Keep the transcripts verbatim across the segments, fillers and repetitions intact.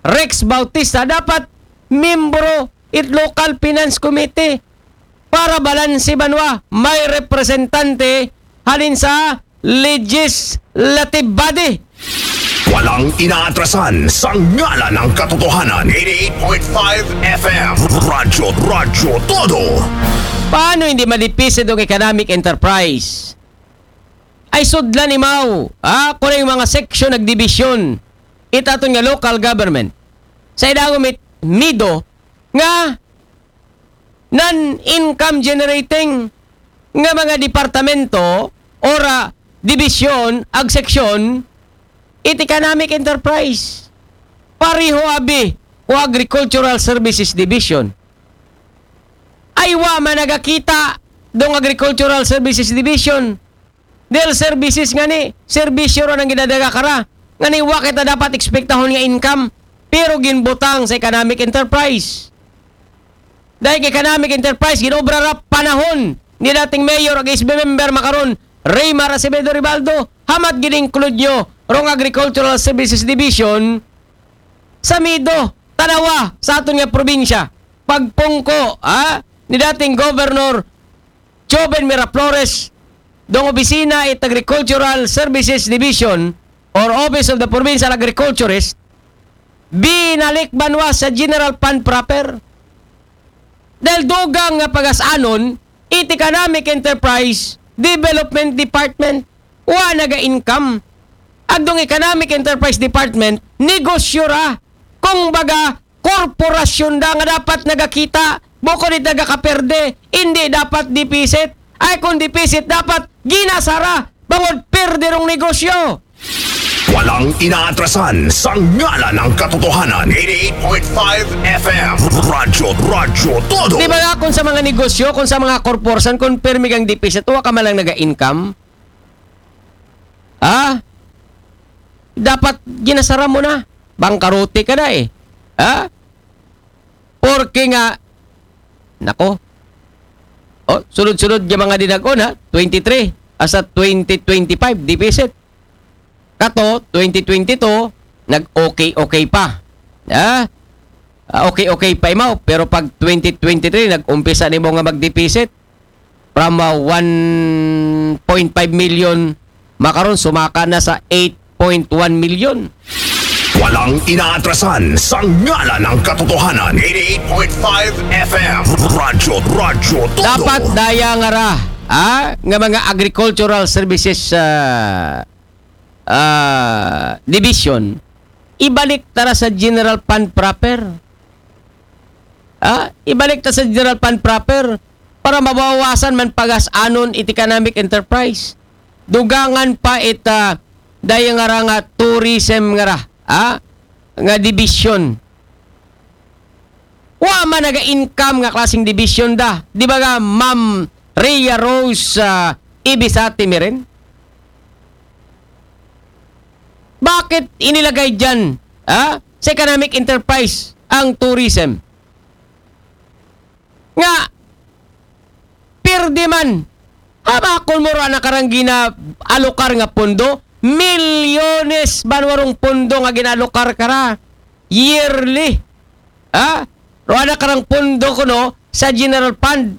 Rex Bautista, dapat miyembro it local finance committee para balanse banwa, may representante halin sa legislative body. Walang inaatrasan sa ngalan ng katotohanan. eighty-eight point five F M. Radyo, Radyo Todo. Paano hindi madipisit ang economic enterprise? Ay sudlan imaw, ha? Kung yung mga section nagdibisyon, itaton nga local government. Sa idagom it MIDO, nga non-income generating nga mga departamento or ah, dibisyon, ag section, it economic enterprise. Pareho abi o Agricultural Services Division. Ay wa man nagakita dong Agricultural Services Division. Dahil services nga ni, serbisyo ron ang ginadaga kara. Nga ni wa kita dapat ekspektahon nga income. Pero ginbutang sa economic enterprise. Dahil economic enterprise, ginobra ra panahon ni dating mayor ag S B member makaron, Raymar Acevedo Ribaldo, hamat gin-include nyo rong Agricultural Services Division sa MIDO, tanawa sa aton nga probinsya. Pagpungko, ha? Ni dating Governor Joven Miraflores, dong opisina it Agricultural Services Division or Office of the Provincial Agriculturist, binalik banwa sa general fund proper. Dahil dugang nga pagasanon, it Economic Enterprise Development Department, wa naga-income. Agdong Economic Enterprise Department, negosyo ra. Kung baga, korporasyon da nga dapat nagakita, bukod it nagakaperde, hindi dapat deficit. Ay kung deficit, dapat ginasara. Bangod perde rong negosyo. Walang inaatrasan sa ngalan ng katotohanan. eighty-eight point five F M. Radyo, Radyo Todo. Di ba nga kung sa mga negosyo, kung sa mga korporasyon, kung pirmi kang deficit, wa ka man lang naga-income? Ha? Dapat ginasara mo na. Bangkarote ka na eh. Ha? Porke nga, nako, oh, sunod-sunod nga mga dinag-on ha, twenty-three, asa twenty twenty-five, deficit. Kato, twenty twenty-two, nag-okay-okay pa. Ha? Ah, okay-okay pa imaw, pero pag twenty twenty-three, nag-umpisa nimo nga mag-deficit, from ah, one point five million, makaron sumaka na sa eight point one million. Walang inaatrasan sa ngalan ng katotohanan. eighty-eight point five F M. Radyo, Radyo Todo. Dapat daya nga ra, ah, nga mga agricultural services ah, ah, division, ibalik ta ra sa general fund proper. Ah, ibalik ta sa general fund proper para mabawasan man pagas-anon it economic enterprise. Dugangan pa it ah, daya nga ra nga tourism nga ra, ah, nga division. Wa man naga-income nga klaseng division da. Di ba nga, Ma'am Rhea Rose ah, Ibisate Miren? Bakit inilagay dyan, ah, sa economic enterprise ang tourism? Nga, pirdi man. Habakon mo ra na karang gina-alokar nga pondo, milyones banwa rong pondo nga gina-alokar kara yearly. Ha? Ro ana karang pondo kuno sa general fund.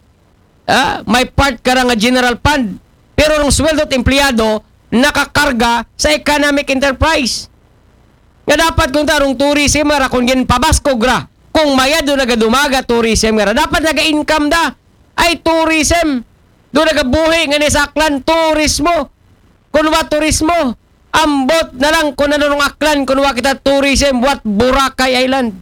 Ha? May part kara nga general fund. Pero rong sweldo at empleyado, nakakarga sa economic enterprise. Nga dapat kung tarong tourism nga ra, kung ginpabaskog ra, kung mayad do nagadumaga tourism nga ra, dapat naga-income da. Ay tourism. Do nagabuhi nga ni sa Aklan, turismo. Kung wa turismo, ambot na lang kung ano nung Aklan, kung wa kita tourism, what Boracay Island.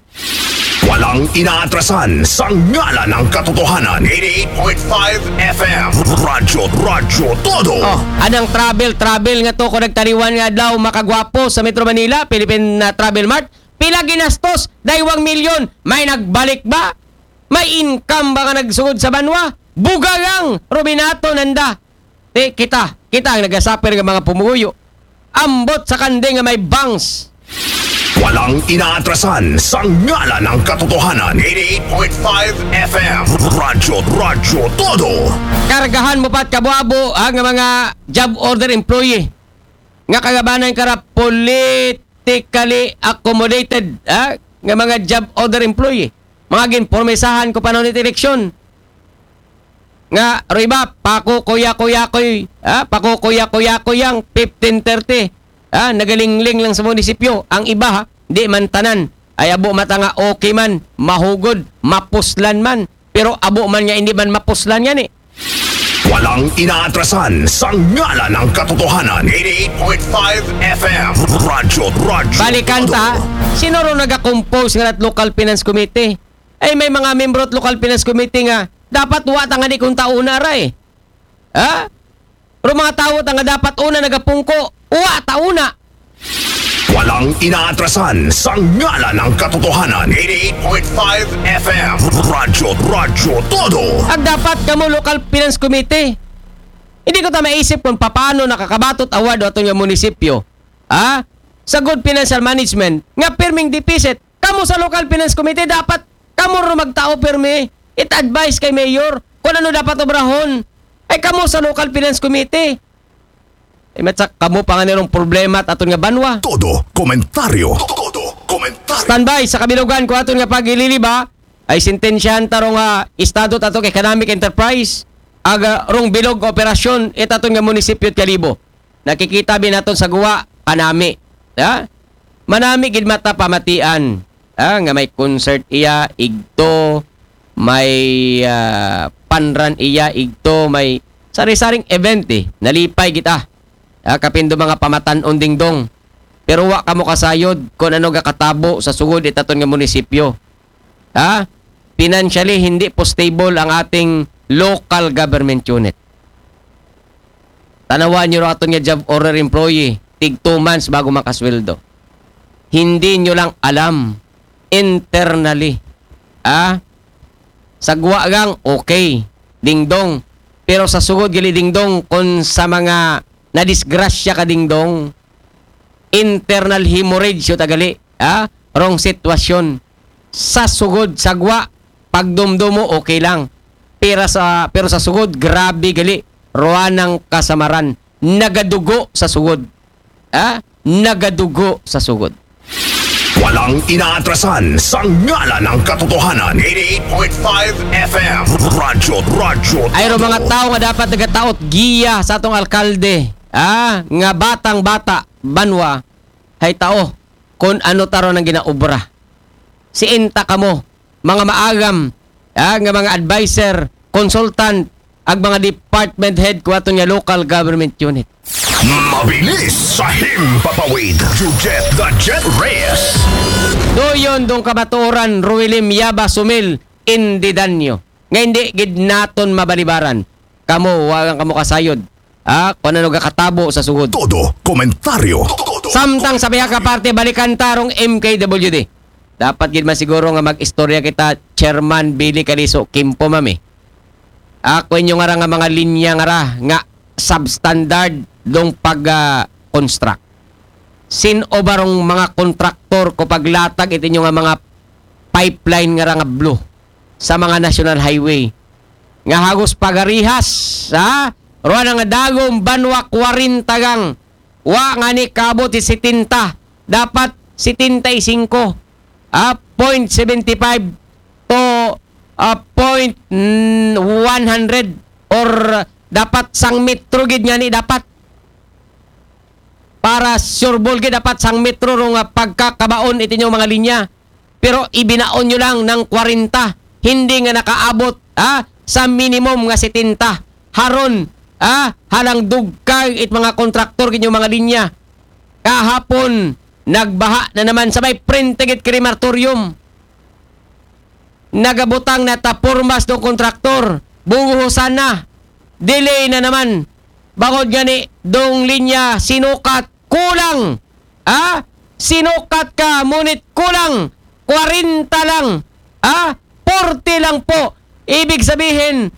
Walang inaatrasan sa ngalan ng katotohanan. eighty-eight point five F M. Radyo, Radyo Todo. Oh, anang travel, travel nga to ko nagtaliwan nga daw makagwapo sa Metro Manila, Philippine na Travel Mart. Pila ginastos? Daywang milyon. May nagbalik ba? May income ba nga nagsugod sa banwa? Bugagang Rubinato nanda. Ti kita, kita ang nagasapir nga mga pumuyo. Ambot sa kande nga may bangs. Walang inaatrasan sa ngalan ng katotohanan. eighty-eight point five F M. Radyo, Radyo Todo. Kargahan mo pat kabuabo ha, nga mga job order employee nga kagabanan kara politically accommodated ha? nga mga job order employee. Mga ginpormesahan ko panahon it eleksyon. Nga, ro iba, pakukuya-kuya ko'y, ah, pakukuya-kuya ko yang fifteen thirty. Ah, nagalingling lang sa munisipyo. Ang iba, ha, di man tanan. Ay abo mata nga okay man, mahugod, mapuslan man. Pero abo man nga hindi man mapuslan yan eh. Walang inaatrasan sa ngalan ng katotohanan. eighty-eight point five F M. Radyo, Radyo. Balikan ta, sino ro nagakompose nga at local finance committee? Ay may mga membro at local finance committee nga dapat wa ta nga di kung tauna ra eh. Ha? Pero mga tawo ta nga dapat una nagapungko, wa ta una. Walang inaatrasan sa ngalan ng katotohanan. eighty-eight point five F M. Radyo, Radyo Todo. Ang dapat kamo local finance committee. Hindi ko ta maisip kung paano nakakabatot award ato nga munisipyo. Ha? Sa good financial management, nga pirming deficit. Kamo sa local finance committee, dapat kamo ro magtao pirmi. It advice kay mayor kung ano dapat obrahon. Ay kamo sa local finance committee. Ay matsak kamo pa nga nirong problema at aton nga banwa. Todo komentaryo. Todo komentaryo. Standby sa kabilugan ko aton nga pagililiba ay sentensyahan tarong uh, estado at atong economic enterprise aga rong bilog operasyon it aton nga munisipyo at Kalibo. Nakikita bi naton sa guwa, kanami. Ha? Manami gid mata pamatian. Ha? Nga may concert iya, igto, may uh, panran iya, igto, may sari-saring event eh. Nalipay kita. Ha? Kapindo mga pamatan-on dingdong. Pero wa kamo kasayod kung ano gakatabo sa sugod itaton nga munisipyo. Ha? Financially, hindi po stable ang ating local government unit. Tanawan nyo aton nga job order employee, tig two months bago makasweldo. Hindi nyo lang alam internally. Ah? Sagwa gang, okay. Dingdong. Pero sa sugod gali dingdong, kung sa mga nadisgrasya ka dingdong, internal hemorrhage yung tagali. Ah? Wrong sitwasyon. Sa sugod, sagwa, pagdumdumo, okay lang. Pero sa, pero sa sugod, grabe gali. Ruanang kasamaran. Nagadugo sa sugod. Ha? Nagadugo sa sugod. Walang inaatrasan sa ngalan ng katotohanan. eighty-eight point five F M. Radyo, Radyo. Ay ro mga tao nga dapat nagataot giya sa atong alkalde. Ha? Nga batang bata, banwa, hay tao, kung ano taro nang ginaobra. Siinta kamo, mga maagam, ah, nga mga advisor, consultant, ag mga department head ko aton nga local government unit. Mabilis sa himpapawid. Jujet the Jet Reyes. Doyon dong kamatuoran, Ruelim Yaba Sumil, Indidanyo. Nga hindi gid naton mabalibaran. Kamo, wagang kamo kasayod. Ah, kung ano gakatabo sa sugod. Todo komentaryo. Samtang sa biha ka parte, balikan tarong M K W D. Dapat gid man siguro nga mag-istorya kita, Chairman Billy Caliso Kimpo, mami. Ako inyo nga ra nga mga linya nga ra nga substandard dong pag-construct. Sin-o ba rong mga kontraktor ko paglatag iti inyo nga mga pipeline nga ra nga blue sa mga national highway nga hagos pagarihas sa ruwa na nga dagom banwa kwarenta gang wa nga ni kabot si setenta, dapat setenta y cinco, ah, point seventy five to ah, point one hundred or dapat sang metro gid nga ni dapat para sure ball gid dapat sang metro rong ah, pagkakabaon iti inyong mga linya. Pero ibinaon nyo lang ng kwarenta, hindi nga nakaabot, ha, sa minimum nga setenta. Haron, ha, halang dugkay it mga kontraktor gid inyong mga linya. Kahapon, nagbaha na naman sa may prente gid crematorium. Nagabutang na ta pormas dong kontraktor. Buguhosan na. Delay na naman. Bangod nga ni dong linya sinukat kulang. Ha? Sinukat ka, ngunit kulang. Kwarenta lang. Ha? Forty lang po. Ibig sabihin,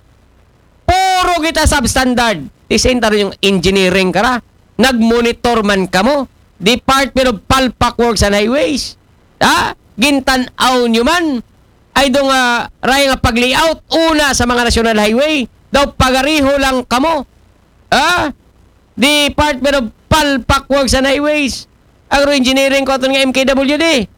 puro kita substandard. Ti same taro yung engineering kara. Nagmonitor man kamo. Department of Palpak Works and Highways. Ha? Gintan-aw nyo man. Ay dong uh, raya nga pag-layout. Una sa mga national highway. Daw pagariho lang kamo. Ha? Department of Palpak Works and Highways. Agro Engineering ko aton nga M K W D.